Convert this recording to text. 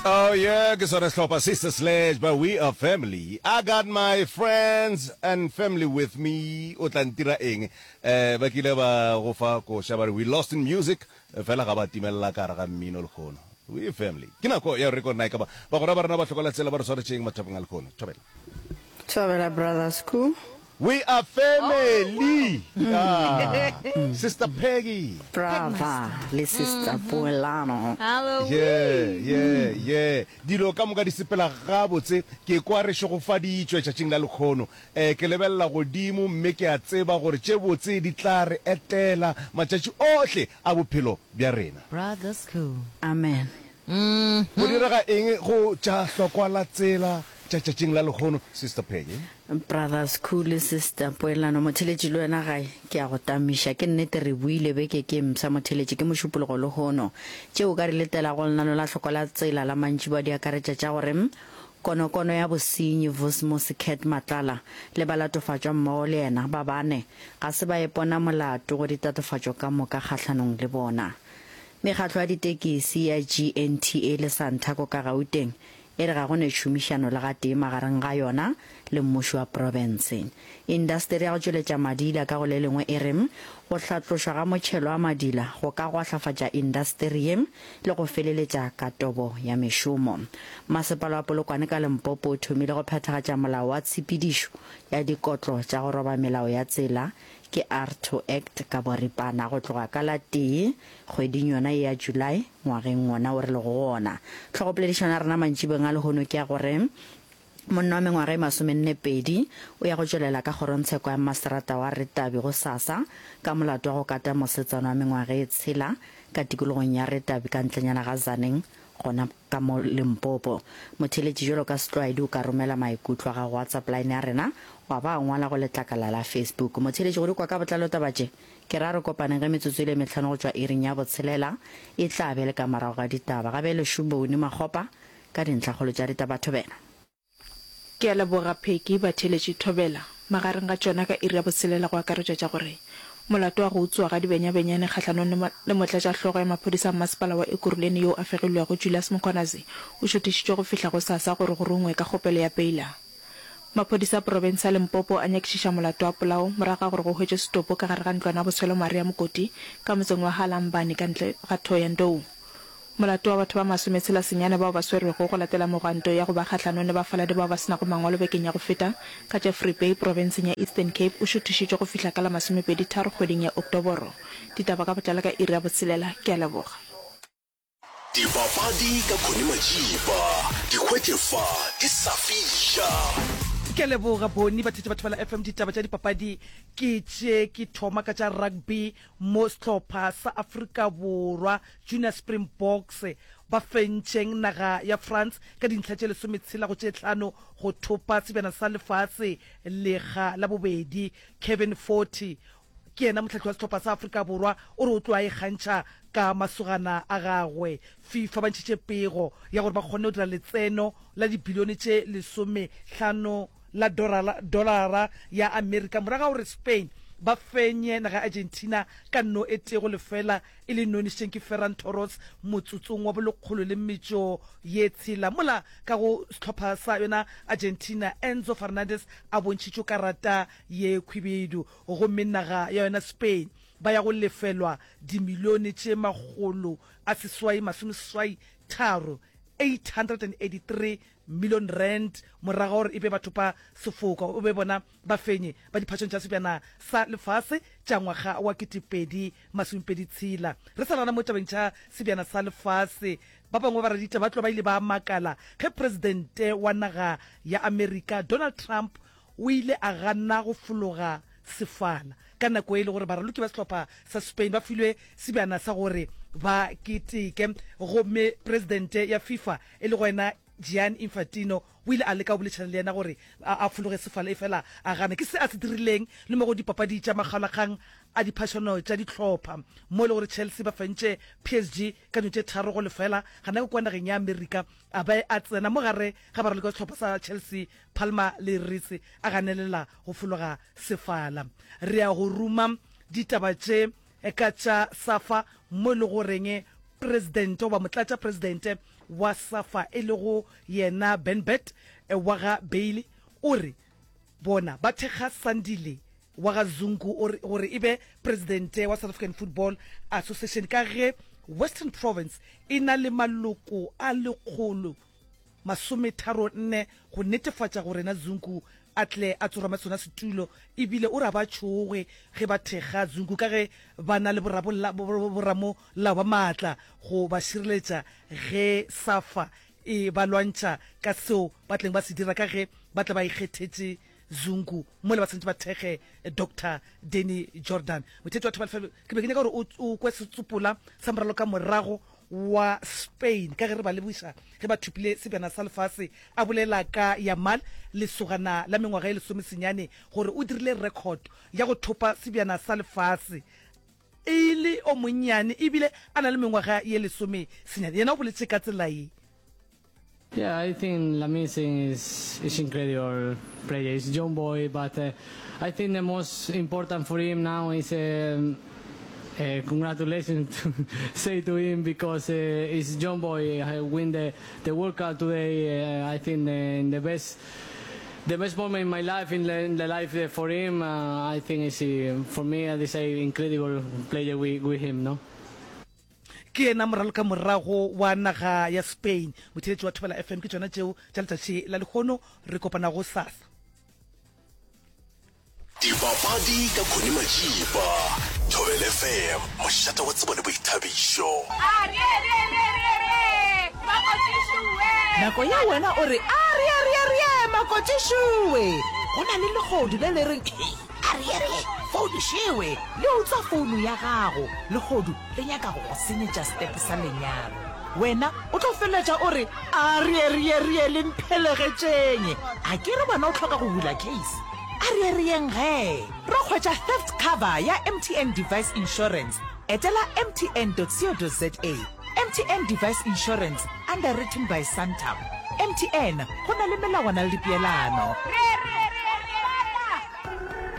Oh yeah, ke sone sehlopha Sister Sledge, but we are family. I got my friends and family with me. O tla ntira eng? Eh, ba kile ba go fa koša ba re we lost in music, fela ga ba timelela ka gare ga mmino lekgono. We are family. Ke nako ya gore re ko nna e ka ba bagwera ba rena ba hlokola tsela ba re swaretšeng mathapong a lekgono. Thobela. Thobela brother Sku. We are family. Ah, Sister Peggy. Brother le Sister Poelano. Yeah, yeah, yeah. Dilo ka moka di sepela gabotse. Ke kwa re šegofaditšwe tšatšing la lekgono. Eh, ke lebelela godimo mme ke a tseba gore tše botse di tla re etela matšatši ohle a bophelo bja rena. Brother Sku. Amen. Go direga eng go tša hlokwa la tsela tša tšatšing la lehono, Sister Peggy? Brother Skhoo le Sister Poelano, motheletši le wena gae, ke a go tamiša. Ke nnete re buile beke ke mpsha motheletši, ke Mošupologo lehono. Tše o ka di letelago lenano la hlokwa la tsela la mantšiboa di akaretša tša gore konokono ya bosenyi Vusimusi Cat Matlala le balatofatšwa mmogo le yena ba bane ga se ba ipona molato go ditatofatšo ka moka kgahlanong le bona. Mekgatlo ya ditekisi ya GNTA le Santaco ka Gauteng e re ga go ne tšhomišano le gatee magareng ga yona le mmušo wa profense. Indasteri ya go tšweletša madila ka go le lengwe e re go hlatlošwa ga motšhelo wa madila go ka gwahlafatša indasteri ye le go feleletša katobo ya mešomo. Masepala wa Polokwane ka Limpopo o thomile go phethagatša molao wa tshepedišo ya dikotlo tša go roba melao ya tsela Ke ARTO Act ka boripana go tloga ka la tee kgweding yona ye ya July ngwageng wona wo re lego go wona. Hlogopoledišano ya rena mantšibeng a lehono ke ya gore monna wa mengwaga e masomennepedi o ya go tšwelela ka kgorongtsheko ya mmaseterata wa Retabi gosasa ka molato wa go kata mosetsana wa mengwaga e tshela ka tikologong ya Retabi ka ntlenyana ga Tzaneen gona ka mo Limpopo. Motheeletši bjalo ka setlwaedi o ka romela maikutlo a gago WhatsApp line ya rena wa ba ngwala go letlakala la Facebook. Motheeletši go di kwa ka botlalo taba tše, ke ra re kopaneng ge metsotso e le mehlano go tšwa iring ya botshelela e tla be le ka morago ga ditaba. Ga bjale šo Boni Makgopa ka dintlhakgolo tša ditaba Thobela. Ke a leboga Peggy, batheeletši Thobela. Magareng ga tšona ka iri ya botshelela go akaretšwa tša gore molato wa go utswa ga dibenyabenyane kgahlanong le le motlatšahlogo ya maphodisa a mmasepala wa Ekurhuleni yo a fegilwego Julius Mkhwanazi o šuthišitšwe go fihla gosasa gore go rungwe ka kgopelo ya peila. Maphodisa a profense ya Limpopo a nyakišiša molato wa polao morago ga gore go hwetšwe setopo ka gare ga ntlwana ya botshwelo Maria Mokoti ka motseng wa Halambani ka ntle ga Thohoyandou. Molato wa batho ba masometshela senyane bao ba swerwego go latela megwanto ya go ba kgahlanong le bafaladi bao ba se nago mangwalo bekeng ya go feta ka Jeffrey Bay profenseng ya Eastern Cape o šuthišitšwe go fihla ka la masomepedi tharo kgweding ya Oktoboro. Ditaba ka botlalo ka iri ya botshelela. Ke a leboga. Dipapadi ka Connie Majiba, di hwetše fa di sa fiša. Ke a leboga Boni, batheetši ba Thobela FM. Ditaba tša dipapadi ke tše, ke thoma ka tša rugby mo sehlopha sa Afrika Borwa Junior Springboks ba fentšeng naga ya France ka dintlha tše lesometshela go tše tlhano go thopa sebjana sa lefase lekga la bobedi. Kevin Forte ke yena mohlahli wa sehlopha sa Afrika Borwa o re o tlo a ikgantšha ka masogana a gagwe. FIFA ba ntšhitše pego ya gore ba kgonne go dira letseno la dibilione tše lesomehlano la dolara ya Amerika morago ga gore Spain ba fenye naga ya Argentina ka no e tee go lefela e le nonišitšeng ke Ferran Torres motsotsong wa bolekgolo le metšo ye tshela, mola ka go sehlopha sa yona Argentina Enzo Fernandez a bontšhitšwe karata ye khwibidu gomme naga ya yona Spain ba ya go lefelwa dimilione tše makgolo a seswai masomeseswai tharo, 883 million rand, morago ga gore e be bathopa sefoka o be bona Bafenyi ba diphašong tša Sebjana sa Lefase tša ngwaga wa 2026. Re sa le gona mo tabeng tša Sebjana sa Lefase, ba bangwe ba baraditaba ba tloga ba ile ba makala ge Presidente wa naga ya Amerika Donald Trump o ile a gana go fologa sefala ka nako e le gore baraloki ba sehlopha sa Spain ba filwe sebjana sa gore ba keteke, gomme Presidente ya FIFA e lego yena Gianni Infantino O ile a leka go boledišana le yena gore a fologe sefala, efela a gana. Ke se a se dirileng le mo go dipapadi tša makgaolakgang a diphašano tša dihlopha, mo e le gore Chelsea ba fentše PSG ka dino tše 3-0 gana ka kua nageng ya Amerika, a be a tsena mo gare ga baraloki ba sehlopha sa Chelsea, Palmer le Reece, a ganelela go fologa sefala. Re ya go ruma ditaba tše ka tša SAFA mo e le goreng presidente goba motlatšapresidente. wa SAFA e lego yena Benbert wa ga Bailey o re bona ba thekga Sandile wa ga Zungu gore e be presidente wa South African Football Association ka ge Western Province e na le maloko a 134 go netefatša gore na Zungu a tle a tsorame sona setulo ebile o re a ba tšhoge ge ba thekga Zungu ka ge ba na le boramolao ba maatla go ba šireletša ge SAFA e ba lwantšha ka seo ba tleng ba se dira ka ge ba tle ba ikgethetše Zungu mola ba santše ba thekge Doctor Danny Jordan. Motheetši wa Thobela FM, ke be ke nyaka gore o, o kwe setsopola sa moralo ka morago wa Spain ka ge re ba lebogiša ge ba thopile sebjana sa lefase, a bolela ka Yamal, lesogana la mengwaga e lesomesenyane, gore o dirile record ya go thopa sebjana sa lefase e le o monnyane ebile a na le mengwaga ye lesomesenyane. Yena o boletše ka tsela ye. Yeah, I think Lamine is is incredible player. He's young boy, but uh, I think the most important for him now is um, uh, congratulations to say to him because uh, he's young boy. I win the the World Cup today. Uh, I think uh, in the best the best moment in my life in the, in the life uh, for him. Uh, I think is uh, for me. I say incredible player with, with him. No. Ke yena moralokamorago wa naga ya Spain. Motheeletši wa Thobela FM, ke tšona tšeo tša letšatši la lehono. Re kopana gosasa. Dipapadi ka Connie Majiba, Thobela FM, mošate wa tsebo le boithabišo. Nako ya wena o re, Arieerieerie, makotšišoe! Go na le lehodu le le reng, Hei! Arierie, founu šewe! Le utswa founu ya gago. Lehodu le nyaka go go senyetša setepe sa lenyalo. Wena o tlo feleletša o re, Arierierie, le mphelegetšeng! A ke re wena o hloka go bula case? Arierieng ge! Ro hwetša theft cover ya MTN Device Insurance. Etela mtn.co.za. MTN Device Insurance, underwritten by Santam. MTN, go na le melawana le dipeelano.